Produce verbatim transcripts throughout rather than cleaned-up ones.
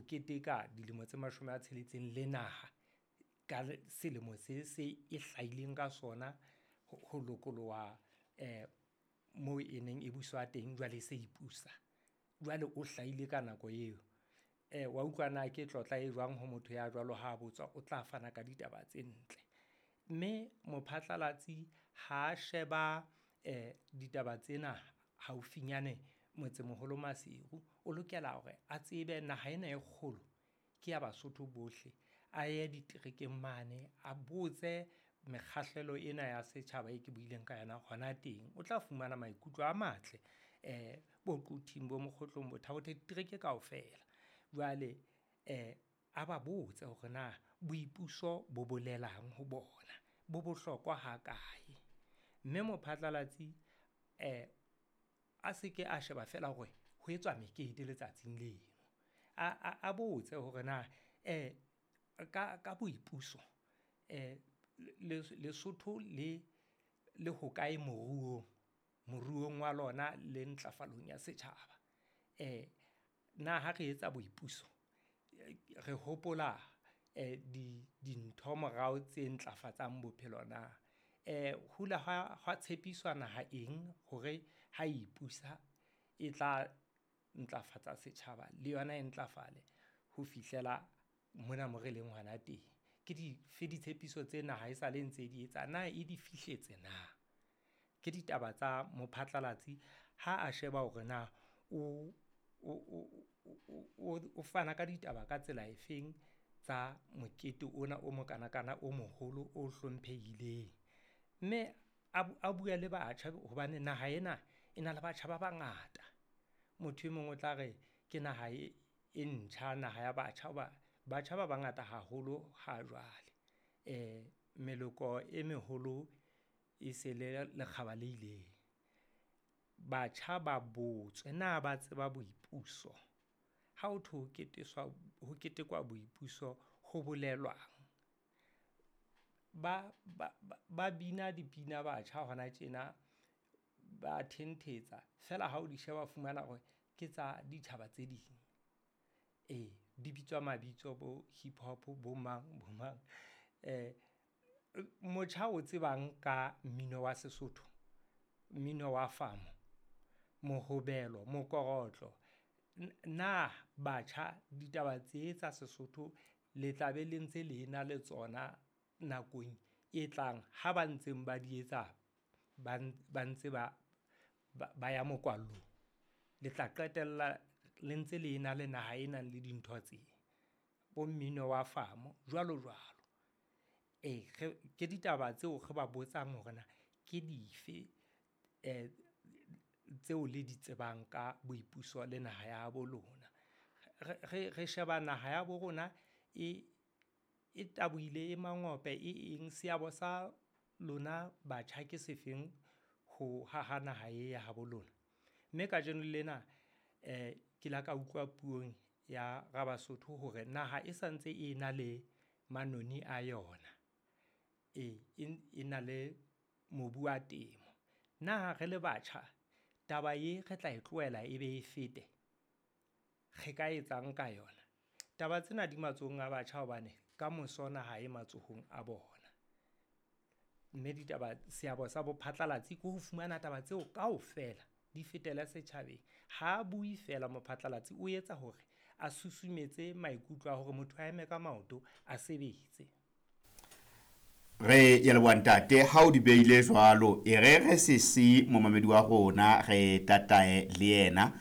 keteka dilemo tse mashome a tsheletseng le naha ka selemo se se e hlahileng ka sona ho lokoloha moo e neng e buswa teng, jwale e se ipusa. Jwale o hlahile ka nako eo. Wa utlwa na ke tlotla e jwang ho motho ya jwalo ha botswa, o tla fana ka ditaba tse ntle. Mme mophatlalatsi ha sheba ditaba tsena haufinyane motsemoholo Maseru, o lokela hore a tsebe naha ena e kgolo ke ya Basotho bohle. A ye diterekeng mane, a botse mekgahlelo ena ya setjhaba e ke buileng ka yona hona teng. O tla fumana maikutlo a matle bo Quthing, bo Mokgotlong, bo Thabotho, ditereke kaofela. Jwale a ba botse hore na boipuso bo bolelang ho bona? Bo bohlokwa ha kae? Mme mophatlalatsi a se ke a sheba feela hore ho etswa mekete letsatsing leno. A botse hore na ka boipuso Lesotho le le hokae moruong? Moruong wa lona le ntlafalong ya setjhaba. Na ha re etsa boipuso re hopola dintho morao tse ntlafatsang bophelo na? Ho ile hwa tshepiswa naha eng hore ha ipusa e tla ntlafatsa setjhaba le yona e ntlafale ho fihlela mona moo re leng hona teng? Ke dife ditshepiso tse naha esale e ntse di etsa, na e di fihletse na? Ke ditaba tsa mophatlalatsi ha a sheba hore na o fana ka ditaba ka tsela efeng tsa mokete ona o mokanakana, o moholo, o hlomphehileng. Mme a bue le batjha hobane naha ena e na le batjha ba bangata. Motho e mong o tla re ke naha e ntjha, naha ya batjha hoba batjha ba bangata haholo ha jwale. Meloko e meholo e se le lekgaba le ileng. Batjha ba botswe, na ba tseba boipuso? Ha ho thwe ho ho ketekwa boipuso ho bolelwang? Ba ba bina dipina batjha hona tjena, ba thentetsa. Feela ha o di sheba o fumana hore ke tsa ditjhaba tse ding. Ee, di bitswa mabitso bo hip-hop, bo mang, bo mang. Motjha o tsebang ka mmino wa Sesotho? Mmino wa famo, mohobelo, mokorotlo. Na batjha ditaba tse tsa Sesotho le tla be le ntse le na le tsona nakong e tlang ha ba ntseng ba di etsa ba ntse ba ya mokwallong? Le tla qetella le ntse le ena le naha e nang le dintho tse, bo mmino wa famo, jwalo-jwalo. Ee, ke ditaba tseo re ba botsang hore na ke dife tseo le di tsebang ka boipuso le naha ya habo lona? Re sheba naha ya bo rona e tabohile, e mangope, e eng. Seabo sa lona batjha ke se feng ho haha naha ee ya habo lona? Mme kajeno lena ke la ka utlwa puong ya Rabasotho hore naha e sa ntse ena le manoni a yona. Ee, e na le mobu wa temo. Na re le batjha taba ee re tla e tlohela ebe e fete? Re ka etsang ka yona? Taba tsena di matsohong a batjha hobane kamoso naha e matsohong a bona. Mme ditaba, seabo sa bophatlalatsi ke ho fumana taba tseo kaofela di fetele setjhabeng. Ha bue feela mophatlalatsi, o etsa hore a susumetse maikutlo a hore motho a eme ka maoto a sebetse. Re ya leboha ntate, ha o di beile jwalo, e re re se si momamedi wa rona re tatae le yena.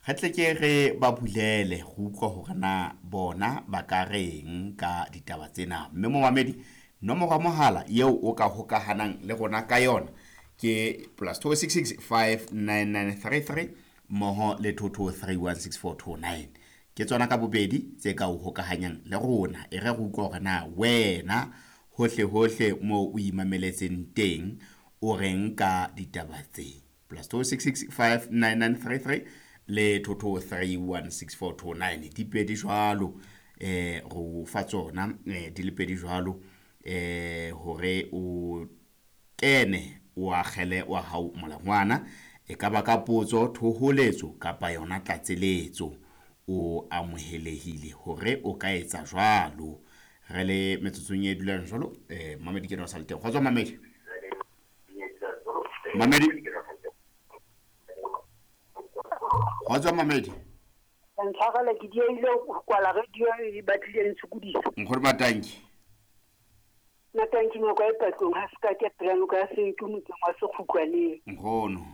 Re tle ke re ba bulele go utlwa hore na bona ba ka reng ka ditaba tsena. Mme momamedi, nomoro ya mohala eo o ka hokahanang le rona ka yona ke plus two six six five nine nine three three mmoho le two two three one six four two nine. Ke tsona ka bobedi tse ka o hokahanyang le rona. E re re utlwe hore na wena hohle hohle moo o imameletseng teng o reng ka ditaba tse. Plus two six six five nine nine three three le two two three one six four two nine. Di pedi jwalo, eh, ro fa tsona, eh, di le pedi jwalo, eh, hore o kene o akgele wa hao molangwana, e ka ba ka potso, thoholetso kapa yona tlatseletso. O amohelehile hore o ka etsa jwalo. Re le metsotsong e dulang jwalo, eh Mamedi ke no sa le teng. Kgotso Mamedi. Mamedi. Kgotso Mamedi. Ntshwarele ke dieile ho kwala radio e batlile ntshokodisa. Nkgono Matanki. Matanki nako e patlong ha se ka ke pela noka ya Senke motseng wa Sekgukwaneng. Nkgono.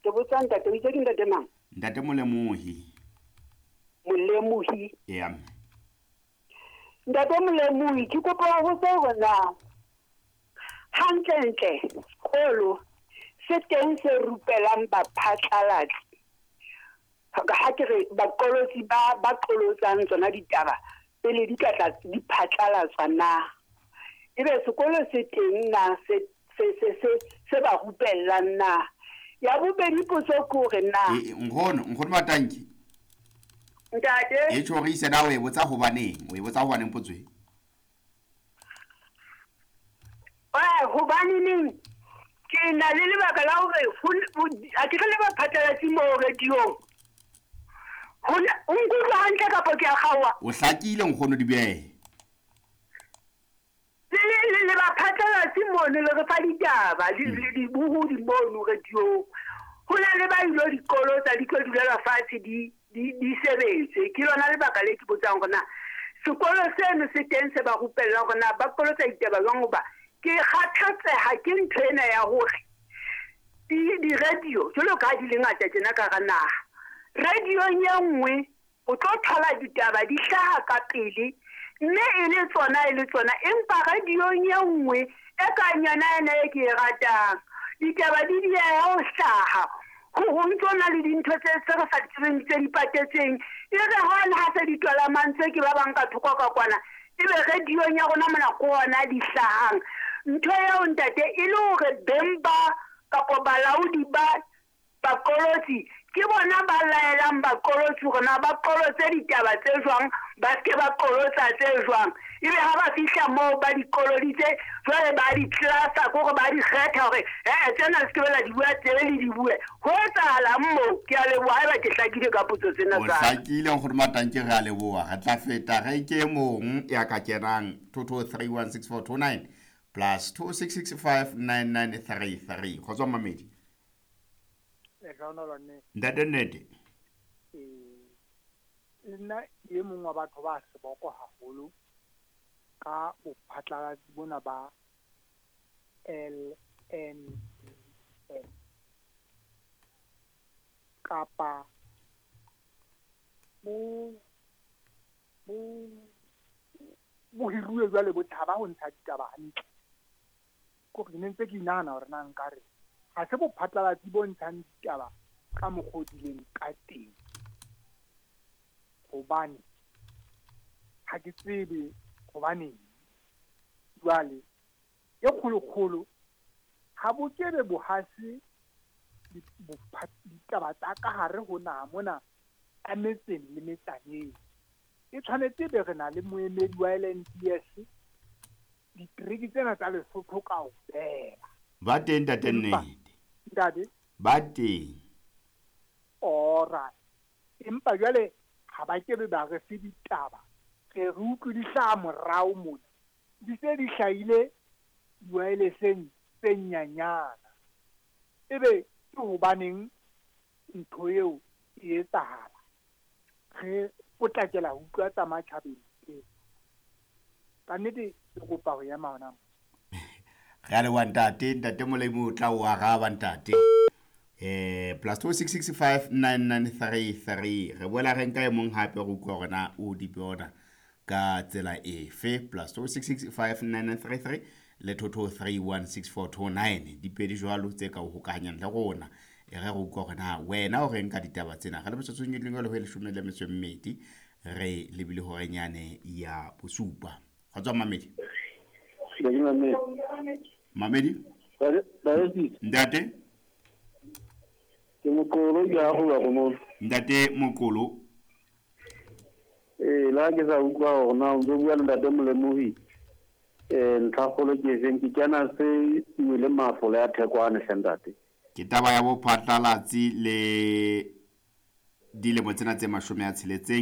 Ke botsa ntate, o itse ke ntate mang? Ntate Molemohi. Molemohi? Eya. Ntate Molemohi, ke kopa ho botsa hore na hantlentle sekolo se teng se rupelang baphatlalatsi, ha ke re baqolotsi ba ba qolotsang tsona ditaba pele di ka tla di phatlalatswa na, ebe sekolo se teng na se se se se se ba rupellang na? Ya bobedi potso ke hore na nkgono nkgono Matanki ntate e tjhorise na o e botsa hobaneng, o e botsa hobaneng potso e? Eh hobaneng ke na le lebaka la hore a ke re le baphatlalatsi mo radiong. O nkutlwa hantle kapa ke a kgaoha? O hlakile nkgono Dibehe. Le le le baphatlalatsi mono le re fa ditaba le le dibohodi mono radiong. Ho na le ba ilo dikolo tsa di tlo dulela fatshe di di di sebetse. Ke lona lebaka le ke botsang hore na sekolo seno se teng se ba rupellang hore na ba qolotsa ditaba jwang, hoba ke kgathatseha ke ntho ena ya hore di di-radio jwalo ka ha di le ngata tjena ka hara naha. Radiong e nngwe o tlo thola ditaba di hlaha ka pele mme e le tsona e le tsona, empa radiong e nngwe e kang yona ena e ke e ratang ditaba di dieha ho hlaha, ho ntso na le dintho tse tse re sa di tsebeng tse di patetseng. E re hona ha se di twala mantswe ke ba bang ka thoko ka kwana, ebe radiong ya rona mona ke ona di hlahang. Ntho eo ntate e le hore beng ba kapa balaodi ba baqolotsi ke bona ba laelang baqolotsi hore na ba qolotse ditaba tse jwang, ba seke ba qolotsa tse jwang. Ebe ha ba fihla moo ba di qoloditse, jwale ba di tlasa ke hore ba di kgetha hore eh tsena se ke bela di bua tsebe le di bue. Ho etsahalang moo? Ke a leboha haeba ke hlakile ka potso tsena O tsa. hlakile nkgono Matanki, re a leboha. Re tla feta re ke mong ya ka kenang two two three one six four two nine plus two six six five nine nine three three. Kgotso Mamedi. Ntate Nnete. Eh, nna e mong wa batho ba seboko haholo ka bophatlalatsi bona ba L N D S kapa bo bo bo hiruwe jwale bo tshaba ho ntsha ditaba hantle. Ko re ne ntse ke inahana hore na nkare ha se bophatlalatsi bo ntshang ditaba ka mokgwa o dileng ka teng, hobane ha ke tsebe hobaneng. Jwale e kgolokgolo ha bo kebe bo hase ditaba tsa ka hare ho naha mona a metseng le metsaneng. E tshwanetse be re na le moemedi wa L N D S ditereke tsena tsa Lesotho kaofela. Ba teng ntate Nnete. Ntate? Ba teng. Alright. Empa jwale ha ba kebe ba re fe ditaba, re re utlwe di hlaha morao mona, di se di hlahile di-wireless-eng tse nyanyana. Ebe ke hobaneng ntho eo e etsahala? Re potlakela ho utlwa tsa matjhabeng pele. Ka nnete ke kopa ho ema hona moo. Re a leboha ntate, ntate Molemo o tla o araba ntate. Eh plus two six six five nine nine three three. Re boela re nka e mong hape re utlwa hore na o di bona ka tsela efe. Plus two six six five nine nine three three le two two three one six four two nine. Di pedi jwalo tse ka o hokahanyang le rona. E re re utlwa hore na wena o reng ka ditaba tsena. Re le metsotsong e leng le ho e leshome le metso e mmedi, re lebile horenyane ya bosupa. Kgotso Mamedi. Mamedi. Ntate. Ke Mokolo ke a go ba go mo. Ntate Mokolo. Eh la ke sa utlwa hore na o ntso bua le ntate Molemohi. Eh ntlhakgolo ke efeng, ke kena se iwele mafola ya Thekwane hle ntate. Ke taba ya bophatlalatsi le Dilemo tsena tse mashome a tsheletseng.